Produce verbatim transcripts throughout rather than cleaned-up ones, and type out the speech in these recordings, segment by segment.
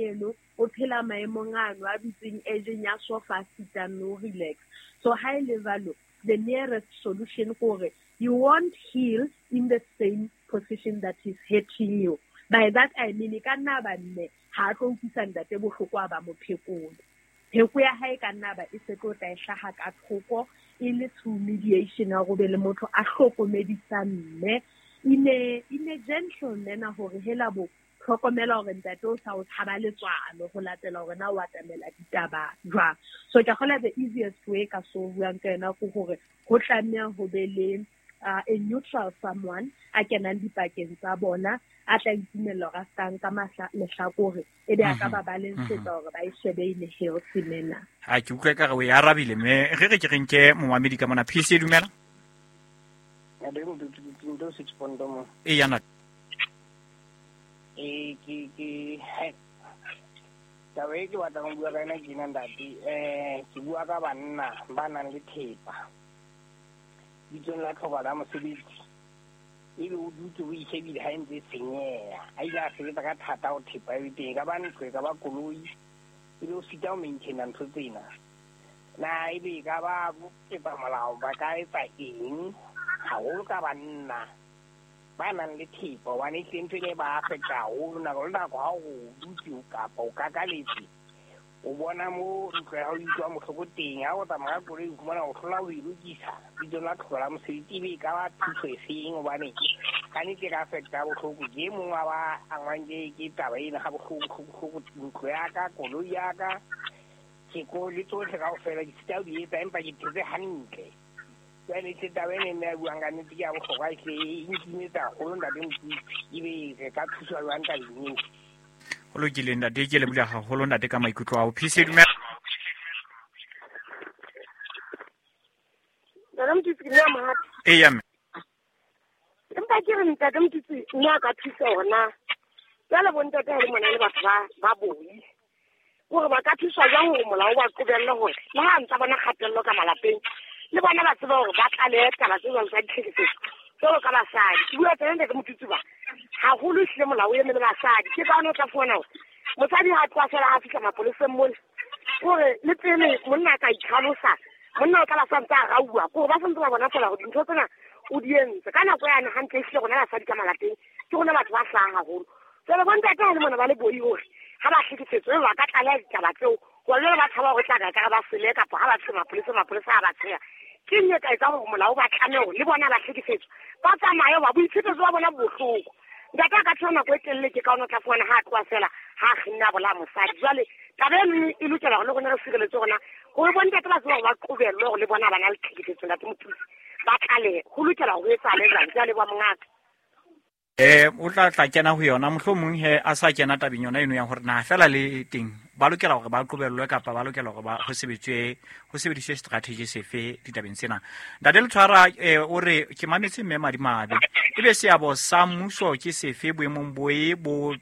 eno o phela maemong ano a bitseng agent ya sofa sita no relax. So high level, the nearest solution gore you won't heal in the same position that is hurting you. By that I mean e ka nna ba mme ha tlo utlwisa ntate bohloko a ba mo phekolo. Pheko ya hae ka nna ba e se tlo tla e hlaha ka thoko e le through mediation ya go be le motho a hlokomedisa mme in a in a gentle manner hore hela bo hlokomela hore ntate o sa o tshaba letswalo ho latela hore na o atamela ditaba jwang. So ke kgola the easiest way ka so buang ka yona ke hore ho tlameha ho be le uh, a neutral someone a kenang dipakeng tsa bona a tla itumella hore a ska nka lehlakore e be a ka ba balansetsa hore ba e shebe in a healthy manner. Ha ke utlwe ka re o e arabile mme re re ke re nke momamedi ka mona. P C dumela. E yana. E ke ke taba e ke batlang ho bua ka yona ke ena ntate. Eh ke bua ka banna ba nang le thepa bitsong la tlhoka la mosebetsi ebe o dutse o ishebile ha e ntse e senyeha. A ile a sebetsa ka thata ho thepa e teng, e ka ba ntlo, e ka ba koloi, ebe o sita ho maintaina ntho tsena. Na ebe e ka ba etsa molao ba ka etsa eng haholo ka banna ba nang le thepa, hobane ehlile ntho ena e ba affecta haholo nako le nako ha o dutse kapa o kakaletse o bona mo ntlo ya hao e utlwa bohloko teng. Ha o tsamaya ka koloi o fumana o hlola ho e lokisa bitsong la tlhoka la mosebetsi, ebe e ka ba thuso e feng? Hobane ka nnete e ka affecta bohloko. Ke e mong wa ba angwang ke ke taba ena ha bohloko bohloko. Ntlo ya ka, koloi ya ka, ke le tsohle kaofela ke sita ho di etsa, empa ke phetse hantle. Jwale ehlile taba ena e mme a buang ka nnete ke ya bohlokwa, ehlile e nkimetsa haholo ntate Motutsi. Ebe re ka thuswa jwang tabeng eo? Ho lokile ntate, ke leboha haholo ntate ka maikutlo ao. P C dumela. Ntate Motutsi, ke nna Mohapi. Eya mme. Empa ke re ntate Motutsi nna a ka thusa hore na jwale bo ntate ha le mona le batho ba ba boi hore ba ka thuswa jwang hore molao o ba qobelle hore le ha ntsa bona kgatello ka malapeng le bona ba tseba hore ba tlalehe taba tse jwalo tsa ditlhekefetso jwalo ka basadi. Ke bua tsena ntate Motutsi ba haholo ehlile molao o eme le basadi. Ke ka hona o tla fumana hore mosadi ha tloha feela ha fihla mapoleseng mole kore le pele monna a ka itlhalosa, monna o tla ba santse a rauwa kore ba santse ba bona feela hore dintho tsena o di entse. Ka nako yane hantle ehlile rona basadi ka malapeng ke rona batho ba hlaha haholo. Jwale bo ntate ha le mona ba le boi hore ha ba hlekefetswe ba ka tlaleha ditaba tseo hobane jwale ba tshaba hore tla ka ekare ba sele kapa ha ba tshe mapolesa, mapolesa ha ba tsheha. Ke eng e ka etsang hore molao ba tlamehe hore le bona ba hlekefetswe ba tsamaye hoba boitshepeso ba bona bo bohloko. Ntate a ka thola nako e telele ke ka hona o tla fumana ha a tloha feela ha a kginne a bolaya mosadi. Jwale taba eno e lokela hore le rona re sireletse rona hore bo ntate ba tsebe hore ba qobellwe hore le bona ba na le tlhekefetso ntate Motutsi ba tlalehe. Ho lokela hore ho etsahale jwang? Ke a leboha mongaka. Eh o tla tla kena ho yona mohlomong he a sa kena tabeng yona eno ya hore na fela le teng ba lokela hore ba qobellwe kapa ba lokela hore ba ho sebetswe ho sebediswe strategy sefe ditabeng tsena. Ntate Letshwara eh o re ke mametse mme Madimabe ebe seabo sa mmuso ke sefe boemong boe bo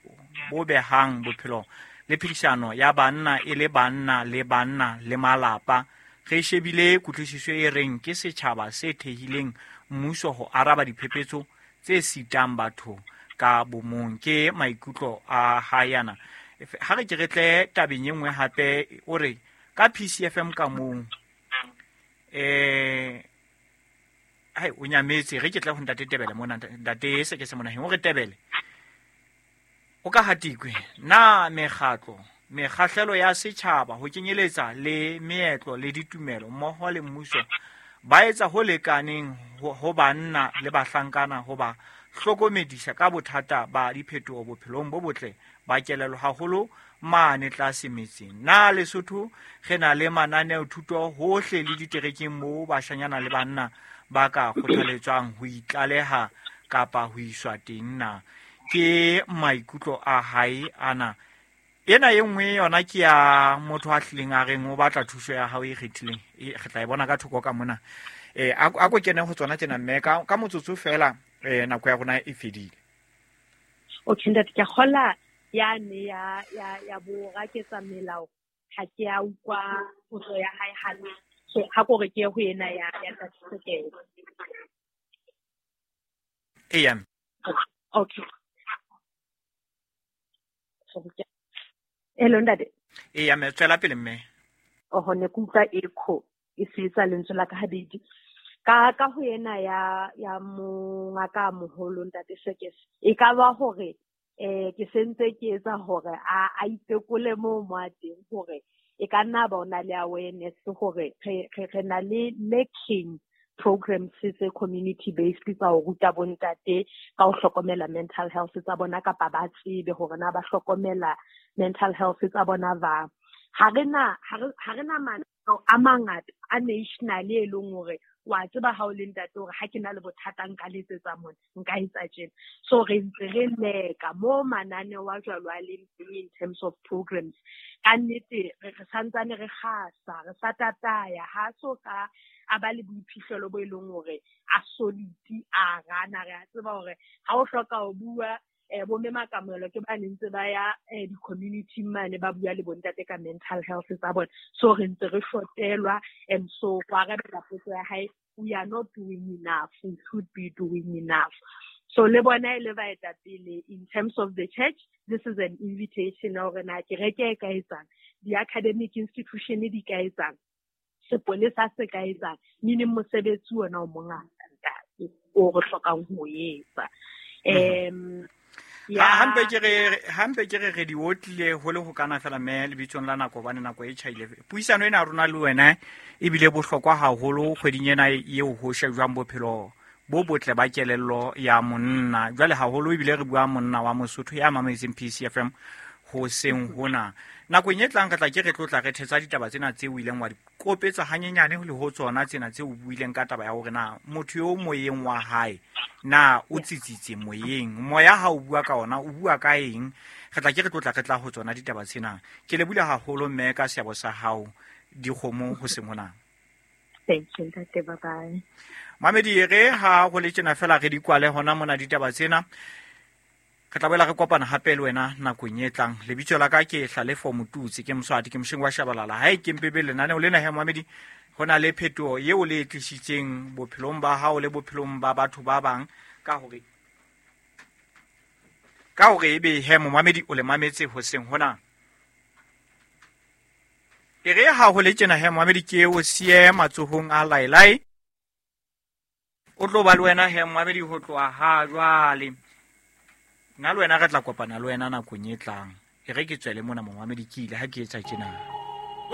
bo behang bophelo le phedisano ya banna e le banna le banna le malapa. Re shebile kutlwisiso e reng ke setjhaba se thehileng mmuso ho araba diphephetso tse sitang batho ka bomong. Ke maikutlo a hayana. Ha re ke re tle tabeng e nngwe hape o re ka P C F M ka mong eh hai o nyametse re ke tle ho ntate Tebele mona ntate se ke se mona o re Tebele o ka hatikwe na mekgatlo mekgahlelo ya setjhaba ho kenyeletsa le meetlo le ditumelo mmoho le mmuso ba etsa ho lekaneng ho banna le bahlankana ho ba hlokomedisa ka bothata ba diphetoho bophelong bo botle ba kelello haholo mane tlase metseng. Na Lesotho re na le mananeo thuto hohle le diterekeng moo bashanyana le banna ba ka kgothaletswang ho itlaleha kapa ho iswa teng na? Ke maikutlo a hae ana. Ena e nngwe yona ke ya motho a hlileng a reng o batla thuso ya hao e kgethileng. E re tla e bona ka thoko ka mona. Eh a ko kene ho tsona tsena mme ka ka motsotso fela eh nako ya rona e fedile. Okay ntate ke kgola ya ne ya ya ya bo raketsa melao ha ke a utlwa potso ya hae hantle. So ha ko re ke ho ena ya ya ntate Sekele. Eya. Okay. So Hello ntate. E ya me tswela pele mme. Oho ne ke utlwa echo e se etsa lentswe la ka habedi. Ka ka ho yena ya ya mongaka moholo ntate Sekese. E ka ba hore eh ke sentse ke etsa hore a a itekole mo mo a teng hore e ka nna ba ona le awareness hore re re na le lacking programs tse community based tsa ho ruta bontate ka ho hlokomela mental health tsa bona kapa ba tsebe hore na ba hlokomela mental health tsa bona ba ha re na ha re na mananeo a mangata a national e leng hore wa tseba ha o le ntate hore ha ke na le bothata nka letsetsa mona nka etsa tjena. So re ntse re leka mo mananeo a jwalo a leng teng in terms of programs. Ka nnete re santsane re kgasa re sa tataya ha so ka a ba le boiphihlelo bo e leng hore a solid a rana re a tseba hore ha o hloka ho bua eh bo mme Makamelo ke ba ntse ba ya di-community mane ba bua le bontate ka mental health tsa bona. So re ntse re shotelwa and so go arabela potso ya hae, we are not doing enough, we should be doing enough. So le bona e le baetapele in terms of the church, this is an invitation hore na kereke e ka etsang, di-academic institution di ka etsang, sepolesa se ka etsang, meaning mosebetsi ona o mongata ntate o re hlokang ho etsa. Um hampe ke re hampe ke re re di otlile ho le ho kana fela mme lebitsong la nako bane nako e tjhaile. Puisano ena rona le wena e bile bohlokwa haholo kgweding ena eo ho shejwang bophelo bo botle ba kelello ya monna. Jwale haholo ebile re bua monna wa Mosotho ya mametseng P C F M ho seng hona. Nakong e tlang re tla ke re tlotla re thetsa ditaba tsena tse o ileng wa di kopetsa hanyenyane le ho tsona tsena tse o buileng ka taba ya hore na motho yo moyeng wa hae na o tsitsitse moyeng, moya ha o bua ka ona o bua ka eng. Re tla ke re tlotla re tla ho tsona ditaba tsena. Ke lebohile haholo mme ka seabo sa hao dikgomo ho seng hona. Thank you, ntate, bye bye. Mamedi re ha go le tjena fela re di kwale hona mona ditaba tsena. Re tla boela re kopana hape le wena nakong e tlang. Lebitso la ka ke Hlalefo Motutsi, ke Moswati, ke mosheng wa Shabalala. Ha e ke mpebe lenaneo lena he Mamedi, ho na le phetoho eo le e tlisitseng bophelong ba hao le bophelong ba batho ba bang ka hore ka hore ebe he Momamedi o le mametse hoseng hona. E re ha ho le tjena he Momamedi ke o siye matsohong a Lailai. O tlo ba le wena he Momamedi ho tloha ha jwale. Nna le wena re tla kopana le wena nakong e tlang. E re ke tswele mona Momamedi ke ile ha ke etsa tjena.